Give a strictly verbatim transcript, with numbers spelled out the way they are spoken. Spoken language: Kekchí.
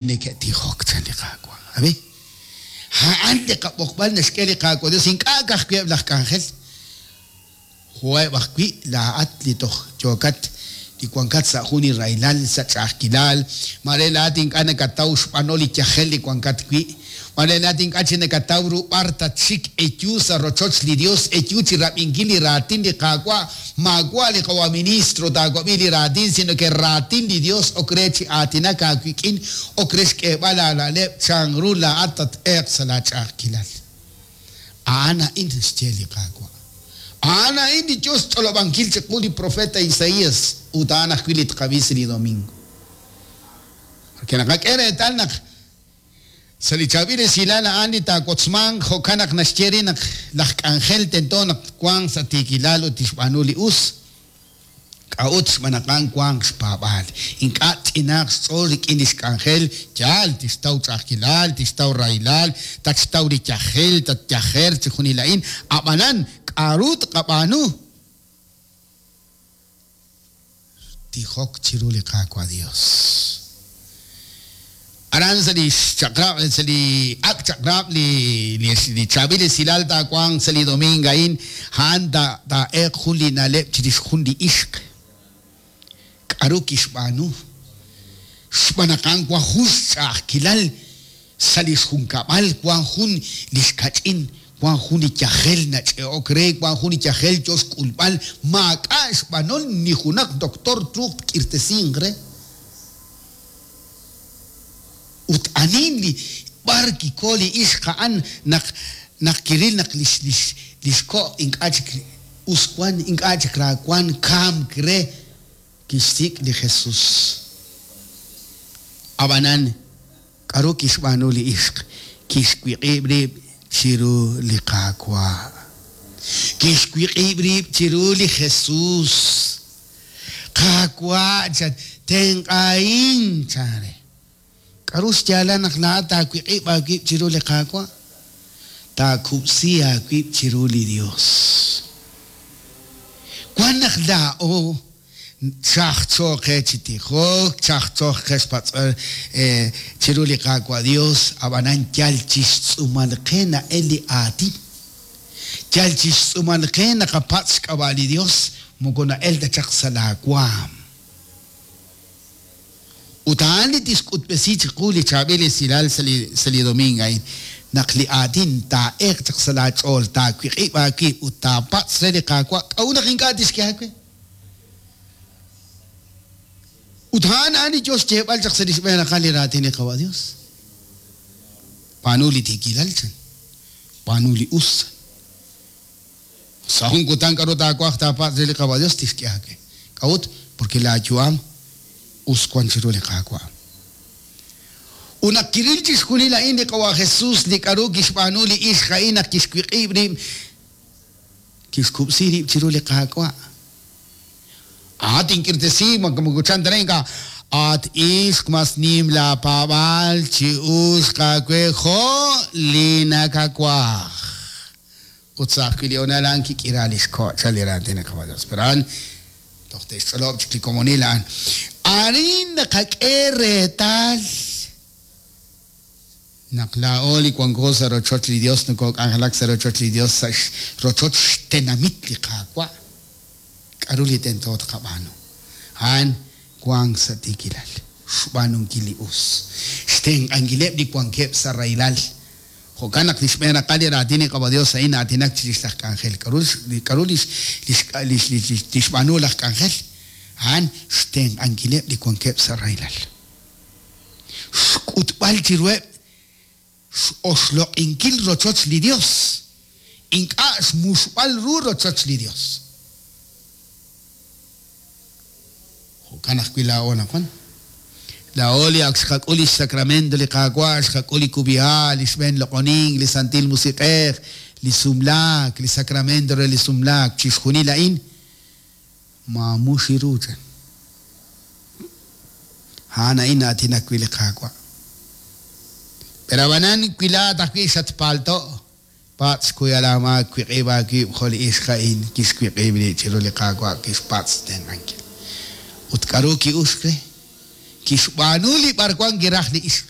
Neke'tijok chan li Qaawa'. Ab'i, a'an li qab'oqb'al naxk'e li Qaawa' Dios, ink'a' ka'ajwi' eb' laj k'anjel, jo'eb' ajwi' laa'at li toj yookat li wankat sa' jun li rahilal, sa' ch'a'ajkilal, mare laa'at ink'a' nakataw xb'anol li yajel li wankat wi', mare laa'at ink'a' chik nakataw ru b'ar tatxik eyu sa' rochoch li Dios, eyu chi rab'inkil li raatin li Qaawa', maawa' li qawa' ministro taawab'i li raatin, sino ke raatin li Dios ok re chi aatinak aawik'in, ok re xk'eeb'al aana'leb' chanru laa'at tat-eeq sa' laach'a'ajkilal. A'an a'in xye li Qaawa'. A'an a'in li yo xch'olob'ankil chiqu li profeta Isaías ut a'an ajwi' li tqab'i sa' li domingo. Porque naqak'e reetal naq sa' li chaab'il esilal a'an li taawotzmanq jo'kan naq naxye re naq laj k'anjel tento naq wanq sa' tiikilal ut tixb'aanu li us. K'a'ut xb'aan naq a'an wanq xpaab'aal. Ink'a' tch'inaaq xch'ool rik'in li xk'anjel, yaal tixtaw ch'a'ajkilal, tixtaw rahilal, tatxtaw li yajel, tatyajer chixjunil a'in. Ab'anan k'a'ru tqab'aanu? Tijok chiru li Qaawa' Dios. Aran sa' li xchaq'rab', sa' li ak' chaq'rab' li li chaab'il esilal taawanq sa' li domingo a'in, a'an taa'eeq jun li na'leb' chirix jun li ixq. K'a'ru kixb'aanu? Xb'aan naq a'an wan jun xch'a'ajkilal sa' li xjunkab'al, wan jun li xkach'in, wan jun li yajel nach'e'ok re, wan jun li yajel yo xk'ulb'al, maak'a' xb'anol ni junaq doctor truuq tk'irtesinq re. Ut anin li b'ar kiko li ixq a'an naq naq kiril naq lix lix lix ko' ink'a' chik us wan, ink'a' chik ra wan, kamk re, kixsik' li Jesús. Ab'anan k'a'ru kixb'aanu li ixq? Kixwiq'ib' rib' chiru li Qaawa'. Kixwiq'ib' rib' chiru li Jesús. Qaawa' chan, tenq'ahin chan re. K'a'ru xyaalal naq laa'at taawiq'ib' aawib' chiru li Qaawa'? Taakub'si aawib' chiru li Dios. Wan naq laa'o chajcho qe chi tijok, chajcho qe xpatz'al chiru li Qaawa' Dios, ab'anan yal chixtz'uumal qe na'el li aatin. Yal chixtz'uumal qe naqapatz' xk'ab'a' li Dios, moko na'el ta chaq sa' laawaam. Ut a'an li tixk'utb'esi chiqu li chaab'il esilal sa' li sa' li domingo a'in, naq li aatin taa'eeq chaq sa' laach'ool, taawiq'ib' aawib' ut taapatz' re li Qaawa', k'a'ut naq ink'a' tixk'e aawe? Ut a'an a'an li yo xyeeb'al chaq sa' li xb'een raqal li raatin li Qawa' Dios. B'aanu li tiikilal chan, b'aanu li us. Sa' jun kutan k'a'ru taawaj taapatz' re li Qawa' Dios tixk'e aawe. K'a'ut? Porque laayu'am us wan chiru li Qaawa'. Ut naq kiril chixjunil a'in li Qawa' Jesús, li k'a'ru kixb'aanu li ixq a'in naq kixwiq'ib' rib', kixkub'si rib' chiru li Qaawa'. At tink'irtesi, moko chan ta re ink'a', at ixq mas nim laapaab'aal chi uxq aawe jo' li nakawaj. Ut sa' ajwi' li honal a'an kik'ira li xko' chan li raatin li Qawa' Dios. Pero a'an toj te'xch'olob' chik li komonil a'an. Arin naqak'e reetal naq laa'o li wanko sa' rochoch li Dios, nokok'anjelak sa' rochoch li Dios, sa' rochoch xtenamit li Qaawa'. K'a'ru li tento tqab'aanu? A'an wank sa' tiikilal, xb'aanunkil li us, xtenq'ankileb' li wankeb' sa' rahilal. Jo'kan naq li xb'een raqal li raatin li Qawa' Dios a'in aatinak chirix laj k'anjel. K'a'ru k'a'ru lix lix lix tixb'aanu laj k'anjel? A'an xtenq'ankileb' li wankeb' sa' rahilal. Xk'utb'al chiruheb' x'oxloq'inkil rochoch li Dios, ink'a' xmuxb'al ru rochoch li Dios. Jo'kan ajwi' laa'o anaqwan. Laa'o li ak xqak'ul li xsacramento li Qaawa', xqak'ul li kub'iha', li xb'een loq'onink, li Santil Musiq'ej, li sumlaak, li sacramento re li sumlaak, chixjunil a'in maamux ru chan. A'an a'in aatinak wi' li Qaawa'. Pero ab'anan wi laa'at ajwi' xatpaalto', patz' xkuyal aamaak, wiq'ib' aawib' jo' li ixq a'in kixwiq'ib' rib' chiru li Qaawa', kixpatz' xtenq'ankil. Ut k'a'ru ki'uxk re? Kixb'aanu li b'arwan kiraj li ixq.